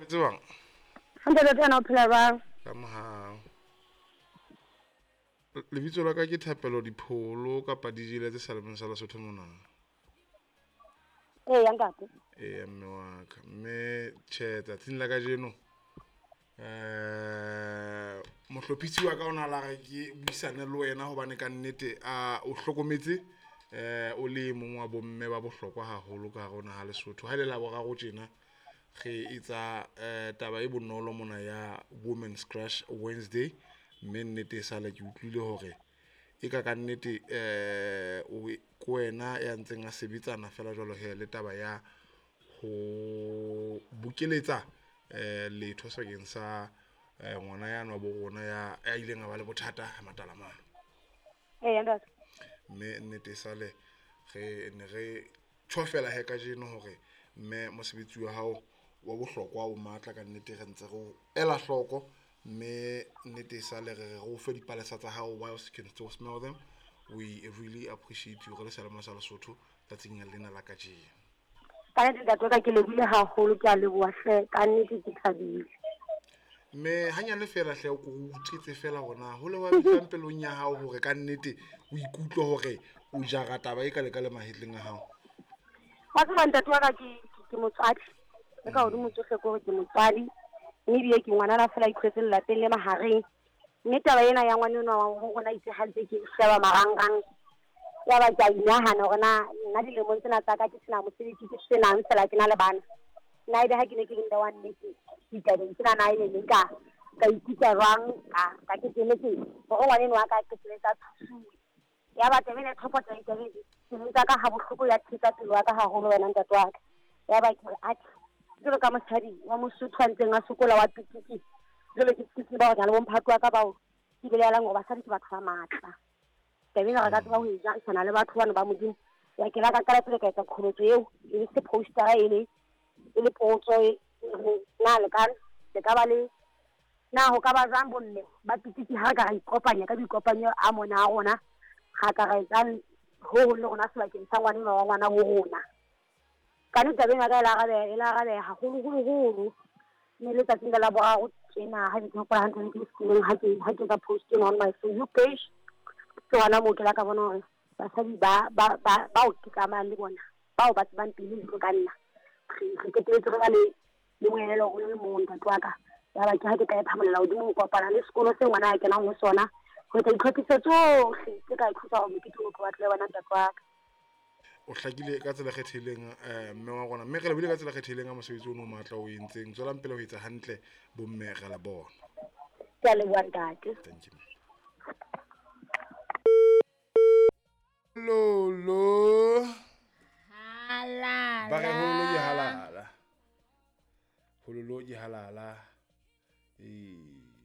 Phetse jwang? Hantle ntate, wena o phela jwang? Ka mohau. Lebitso la ka ke Thapelo Dipholo kapa DJ Letse Salemeng sa Lesotho mona. Eya ntate. Eya mme wa ka. Mme tjhe tsatsing la kajeno eh mohlophisi wa ka o na la re ke buisane le wena hobane ka nnete a o hlokometse eh o le mong wa bomme ba bohlokwa haholo ka hare ho naha Lesotho. Ha ile la boraro tjena re etsa eh taba e bonolo mona ya Women's Crush Wednesday mme nnete e sale ke utlwile hore e ka ka nnete eh o ke wena ya ntseng a sebetsana fela jwalo he le taba ya ho bokeletsa eh letho sebakeng sa eh, ngwana yano wa bo rona ya ya ileng a ba le bothata matalamano. Eya ntate. Mme nnete e sale re ne re tjho fela he kajeno hore mme mosebetsi wa hao wa bohlokwa o matla ka nnete re ntse re o ela hloko mme nnete e sale re re o fe dipalesa tsa hao whilst you can still smell them. We really appreciate you re le Seyalemoya sa Lesotho tsatsing lena la kajeno. Ka nnete ntate wa ka ke lebohile haholo, ke a leboha hle, ka nnete ke thabile. Mme hanyane fela hle o ko o utlwetse fela hore na ho le wa fihlang pelong ya hao hore ka nnete o ikutlwe hore o jara taba e ka le ka le mahetleng a hao. Wa tseba ntate wa ka ke motswadi. Le ka hodimo tsohle ke hore ke motswadi. Mme ebile ke ngwanana fela a ikhwetse lelapeng le mahareng. Mme taba ena ya ngwana enwa wa ho rona itse ha ntse ke sheba marangrang. Ya ba ke a inahana hore na nna dilemong tsena tsa ka ke sena mosebetsi ke senang fela ke na le bana. Nna ebe ha ke ne ke le mme wa nnete ditabeng tsena na ebe ne nka ka ikutlwa jwang ka ka keteletse hore ngwana enwa wa ka qetelletse a thusuwe. Ya ba taba ena e thophotsa ditabeng pelong tsa ka ha bohloko ya thetsa pelo ya ka haholo wena ntate wa ka. Ya ba ke re atjhe jwalo ka mosadi wa Mosotho a ntseng a sokola wa pitiki jwale ke tseba hore ke na le bomphato wa ka bao ke belaelang hore basadi ke batho ba matla. Taba ena re ka tseba ho e jarisana le batho bano ba Modimo. Ya ke la ka qala pele ka etsa qholotso eo e se postera e le e le potso e na le ka le ka ba le na ho ka ba jwang bomme ba pitiki ha re ka ra ikopanya ka boikopanyo a mona a rona ra ka ra etsang ho hong le rona sebakeng sa ngwana enwa wa ngwana ho rona. Ka nnete taba ena ya ka e la arabeha e la arabeha haholoholo-holo. Mme letsatsing le la boraro tjena ha ke hopola hantle ne ke le sekolong ha ke etsa post ena on my Facebook page. Ke hona moo ke la ka bona hore basadi ba ba ba bao ke tsamayang le bona bao ba tsebang pele le ka nna re qetelletse re ba le le moelelo o le mong ntate wa ka. Ya ba ke ha ke ka e phamolela hodimo ho kopana le sekolo se ngwana a kenang ho sona ho etsa ditlhophiso tsohle tse ka thusa hore mokete o tlo batle wena ntate wa ka. O hlakile ka tsela e kgethehileng mme wa rona mme re lebohile ka tsela e kgethehileng ka mosebetsi ono o matla o entseng. Tswelang pele ho etsa hantle bomme re la bona. Ke a leboha ntate. Thank you. Lolo. Halala. Ba re hololo ke halala. Hololo ke halala. Ee.